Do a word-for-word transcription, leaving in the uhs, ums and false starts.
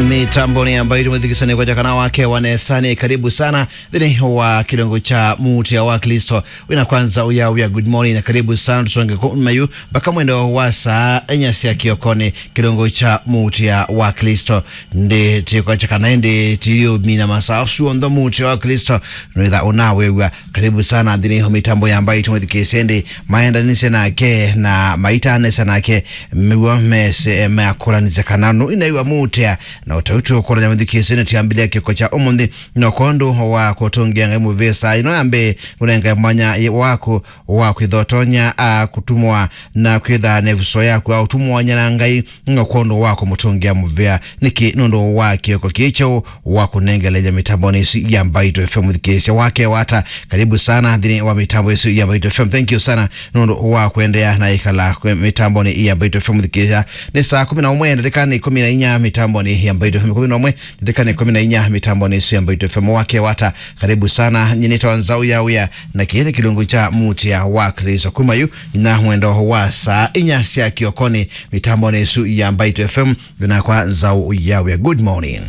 Mitamboni ambayo tumethikisania kwa jakana wake wa nesani, karibu sana. Thĩnĩ wa kĩlungu kya Mũtĩa wa Klĩsto. Wĩna kwanza uya uya, good morning, na karibu sana. Tusonge kuma yu mpaka mwendo wa saa inya sya kĩokoni, kĩlungu kya Mũtĩa wa Klĩsto. Ndi tikwa chakana ndi tiyumina masaa asu onthe Mũtĩa wa Klĩsto nwĩtha unawew'a. Karibu sana nthĩnĩ wa mĩtambo ya Mbaitũ mũthikĩĩsye, ndi maendanĩsye nake na maitanĩsya nake, mĩw'o mese meakũlanĩsya kana nũinaiwa Mũtĩa. Na ũtauti ũkũlany'a mũthikĩĩsye nĩ tiambĩlĩa kĩko kya ũmũnthĩ, no kwondũ wa kũtũngĩa Ngai mũvĩsa ĩno ya mbee, ũnengae mwanya waku wa kwĩthotonya a kũtumwa na kwĩtha nevuso yaku a ũtumwanya na Ngai, no kwondũ wa kũmũtũngĩa mũvea. Nĩkĩ? Nũndũ wa kĩoko kĩĩ kyeũ wa kũnengeleja mĩtambonĩ ĩsu ya Mbaitũ F M mũthikĩĩsya wake wata. Karibu sana nthĩnĩ wa mĩtambo ĩsu ya Mbaitũ F M. Thank you sana nũndũ wa kũendeea na ĩkala kwĩ mĩtambonĩ ya Mbaitũ F M mũthikĩĩsya. Nĩ saa kũmi na ũmwe ndatĩka nĩ kũmi na inya mĩtambonĩ ya Mbaitũ F M. Kũmi na ũmwe ndatĩka nĩ kũmi na inya mĩtambonĩ ĩsu ya Mbaitũ F M wake wata. Karibu sana, nyinĩtawa Nzau ya Wĩa, na kĩĩ nĩ kĩlungu kya Mũtĩa wa Klĩsto. Kuma yu nginya mwendo wa saa inya sya kĩokoni, mĩtambonĩ ĩsu ya Mbaitũ F M, yunakwa Nzau ya Wĩa. Good morning.